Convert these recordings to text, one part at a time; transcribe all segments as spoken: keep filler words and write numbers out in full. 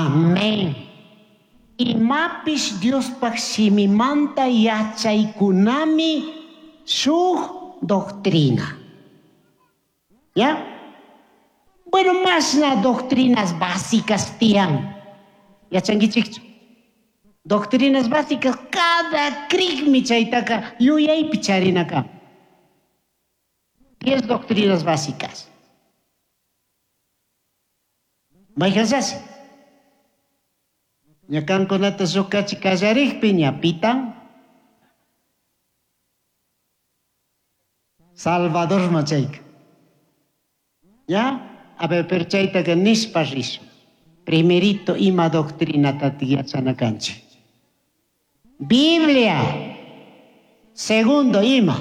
Amén. Imapish Diospaj shimimanta yachaykunami shuk doctrina. ¿Ya? Bueno, mashna doctrinas básicas tiyan. Yachankichikchu. Doctrinas básicas cada crikmi chaytaka yuyaypi charina kan. Diez doctrinas básicas. Mayqanllashi? Ña kankunata llukachi kallarikpi ña pitan Salvador chayka. ¿Ya? A ver, pero chaytaka nishpa rishun. Primerito ima doctrinata yachana kanchik. Biblia. Segundo, ima.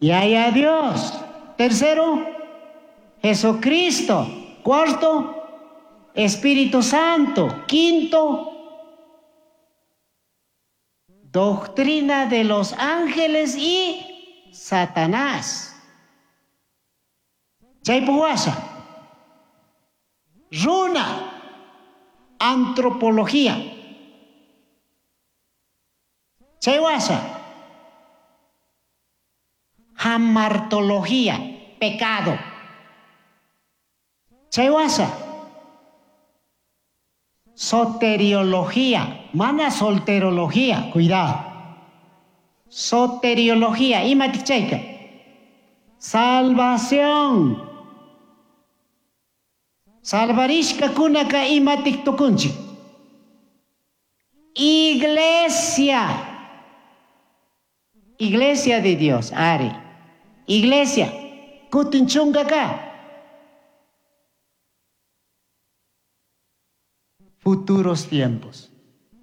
Yaya Dios. Tercero, Jesucristo. Cuarto, Espíritu Santo. Quinto, doctrina de los ángeles y Satanás. Chaypuk washa. Runa. Antropología. Chay washa. Hamartología. Pecado. Chay washa. Soteriología. Mana solterología. Cuidado. Soteriología. Imatik chayka. Salvación. Salvarishkakunaka imatik tukunchik. Iglesia. Iglesia de Dios. Ari. Iglesia. Kutin chunkaka. Futuros tiempos.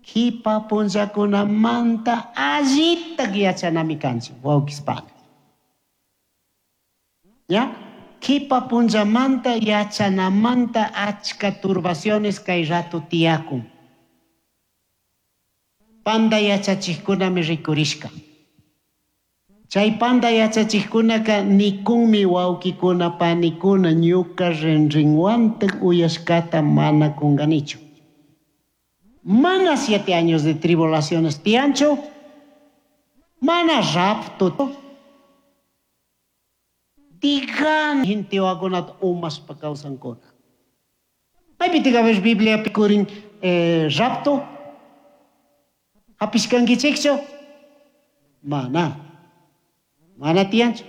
Kipa punllakunamanta allitak yachanami kanchik wawqispana. ¿Ya? Kipa punllamanta yachanamanta achka turbaciones kay rato tiyakun. Panda yachachikkunami rikurishka. Chay panda yachachikkunaka nikunmi wawqikuna panikuna ñuka rinrinwantak uyashkata mana kunganichu. Mana siete años de tribulaciones tiyanchu, mana rapto. Digan gente wakunata umashpa kawsankuna. Maypitik a ver Bibliapi kurin eh, rapto? Hapishkankichikchu? Mana. Mana tiyanchu.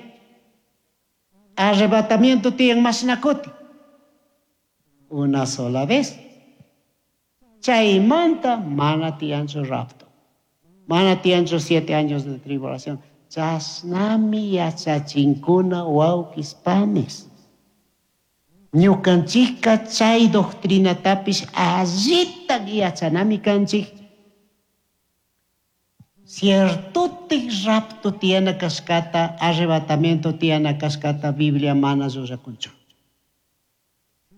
Arrebatamiento tiyan mashna kuti. Una sola vez. Chaymanta mana tiyanchu rapto. Mana tiyanchu siete años de tribulación. Chashnami yachachinkuna wawqis panis. Ñukanchikka chay doctrinatapish allita yachanami kanchik. Ciertotik rapto tiyana kashkata, arrebatamiento tiyana kashkata, Biblia mana llullakunchu.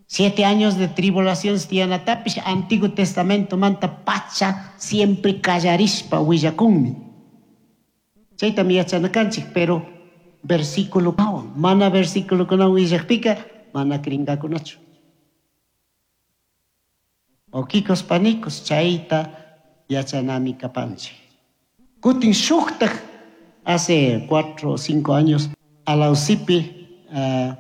Siete años de tribulación tiyanatapish Antiguo Testamento manta pacha siempre kallarishpa willakunmi. Chaytami yachana kanchik, pero versículo mana versículo kuna willakpika mana krinkakunachu. Wawqikos panikos chayta yachanami kapanchik. Kutin shuktak hace cuatro o cinco años Alausipi uh,